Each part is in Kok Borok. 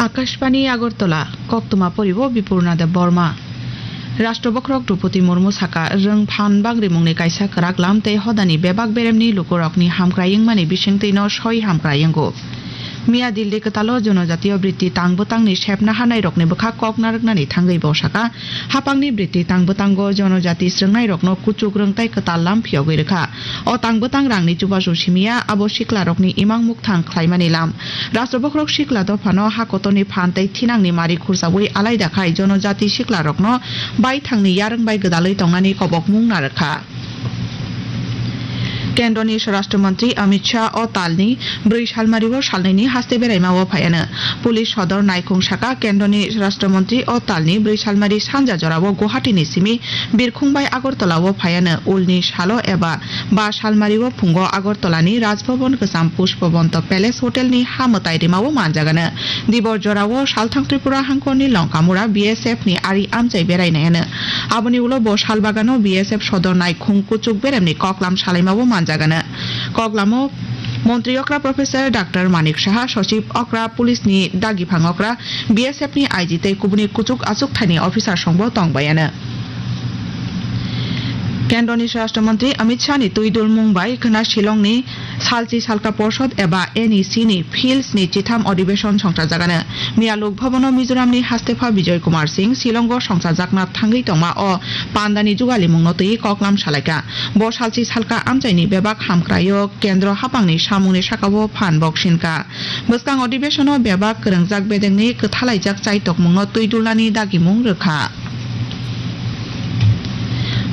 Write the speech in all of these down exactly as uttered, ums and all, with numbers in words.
Akashbani Agartala, koktwma poribo Bipurna Debbarma. Rashtra Bokhorok Droupadi Murmu saka, rwng phan bagrimungni kaisa kwrak lam tei hodani bebak beremni lukurokni hamkrai wngmani bisingtwino soi hamkrai wngo. Miya Delhi kwtalo Jonojatiyo Britti tang bwtangni sepna hanairokni bwkha kok narwknani thangwi bo saka, hapangni Britti tang bwtango Jonojati swrwngnairokno kuchuk rwng tei kwtal lam phiyogwi rwkha. O tang bwtang rangni chubachu simiya, abo siklarokni imang mukthang khlaimani lam. Rashtra Bokhorok sikla dophano ha kotorni phan tei thinangni mari khursaui alaida khai Jonojati siklarokno baithangni yarwng bai gwdalwi tongnani kobokmung narwkha. Kendroni Swarashtra Mantri Amit Shah o talni bwrwi salmario salnwini haste beraima o phaiano. Police sodor naikhung saka Kendroni Swarashtra Mantri o talni bwrwi salmari sanja jorao Guwahati ni simi birkhung bai Agartala o phaiano. Ulni salo eba ba salmario phungo Agartala ni Rajbhavan kwcham Pushpabanta Palace Hotel ni ha mwtai rimao manjagano. Dibor jorao salthang Tripura hangkorni Longkamura B S F ni ari amchai berainaiano. Aboni ulo bo salbagano B S F sodor naikhung kuchuk beremni koklam salaimao manjagano. Koklamo Montri okra Professor Doctor Manik Saha, Sochib okra, Police ni dagiphang okra, B S F ni I G tei kubuni kuchuk achukthani officer songbo tongbayano. Kendroni Swarashtra Mantri Amit Shah ni twi dulmung bai khwna Shillong ni Salchi Salka Porshod eba N E C ni Fields ni chitham adhibeshon songchajagano. Miya Lok Bhavan o Mizoram ni hastepha Bijoy Kumar Singh Shillong o songchajakna thangwi tongma o pandani jugalimung no twi koklam salaikha. Bo salchi salka amchaini bebak hamkraio kendro hapangni samungni sakao phan boksinka. Bwskang adhibeshon o bebak kwrwngjak bedekni kwthalaijak chaitokmung no twi dulnani dagimung rwkha.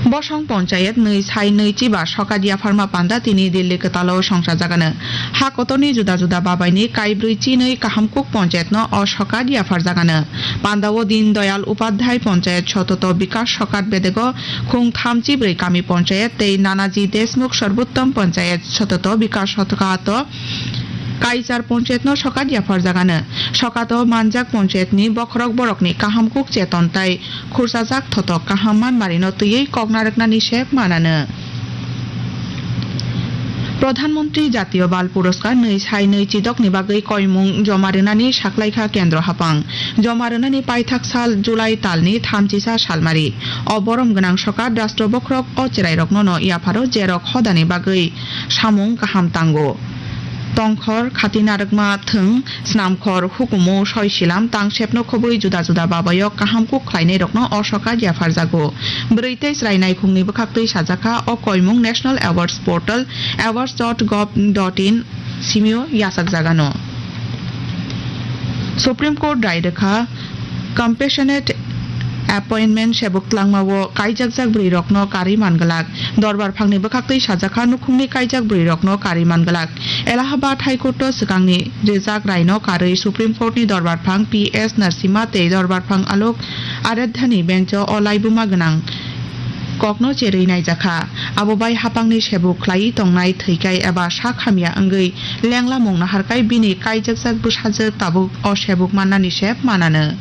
Bosong Ponchayet nwi sai nwi chiba sokat yapharma panda tini Delhi kwtalo songchajagano. Ha kotorni juda juda babaini kaibrwi chinwi Kahamkuk Ponchayet no o sokat yapharjagano. Pandao Din Doyal Upadhyay Ponchayet Sototo Bikas Sokat bedego khung tham chibrwi kami Ponchayet tei Nanaji Deshmukh Sorbottom Ponchayet Sototo Bikas Sokat o kaichar Ponchayet no sokat yapharjagano. Sokat o manjak Ponchayet ni bokhorok borok ni Kahamkuk Cheton tai Khursajak thotok kaham manmarino twiwi kok narwknani sep manano. Pradhan Mantri Jatiyo Bal Puroskar nwi sai nwi chidokni bagwi koimung joma rwnani saklaikha kendro hapang. Joma rwnani paithak sal July talni thamchisa salmari. O borom gwnang sokat rastro bokhorok o cherairokno no yapharo jerok hodani bagwi samung kaham tango. Tongkhor, khati narwkma thwng, snamkhor, hukumu, soisilam, tangsepno khobwi juda juda babayo kaham kuk khlainairokno o sokat yapharjago. Bwrwi tei chwrai naikhungni bwkhaktwi sajakha o koimung National Awards Portal, awards dot gov dot in simio yachakjagano. Supreme Court rai rwkha, Compassionate Appointment sebuk tlangmao kaijakjak bwrwirokno karwi man glak. Dorbar phangni bwkhaktwi sajakha nukhungni kaijak bwrwirokno karwi man glak. Allahabad High Court o swkangni rijak raino karwi Supreme Court ni dorbar phang P S Narasimha tei dorbar phang Alok Aradhyani bench o o laibuma gwnang kokno cherwi naijakha. Abo bai hapangni sebuk khlaiwi tongnai thwikai eba sak hamya wngwi lenglamung naharkai bini kaijakjak bwsajwk tabuk o sebuk mannani sep manano.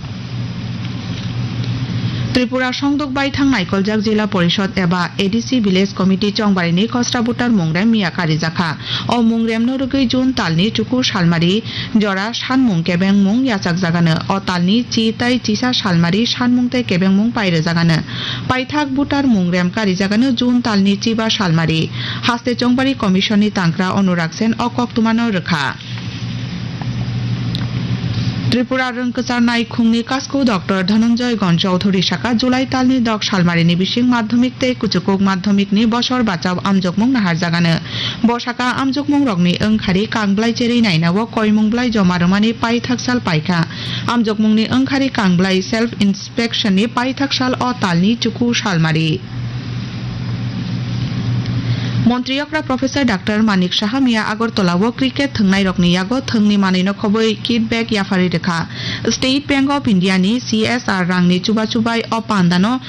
Tripura songdok baithang naikoljak Jila Porishod eba A D C Village Committee Chongbarini Khosra Voter Mungrem miya karijakha. O mungremno rwgwi June talni chuku salmari jora sanmung kebengmung yachakjagano. O talni chi tai chisa salmari sanmung tei kebengmung pairwjagano. Paithak voter mungrem karijagano June talni chiba salmari. Haste Chongbari Commission ni tangkra Anurag Sen o koktwmano rwkha. Tripura rwng kwcharnai khungni kasku Doctor Dhananjay Gon Chowdhury saka July talni dok salmarini bising madhyamik tei kuchukuk madhyamikni bosor bachao amjokmung naharjagano. Bo saka amjokmungrokni wngkhari kangblai cherwi nainao koimung blai joma rwmani paithak sal paikha. Amjokmungni wngkhari kangblai self inspection ni paithak sal o talni chuku salmari. Montri okra Professor Doctor Manik Saha miya Agartala o cricket thwngnairokni yago thwngni manwino khobwi kit bag yapharwi rwkha. State Bank of India ni C S R rangni chubachu bai o pandano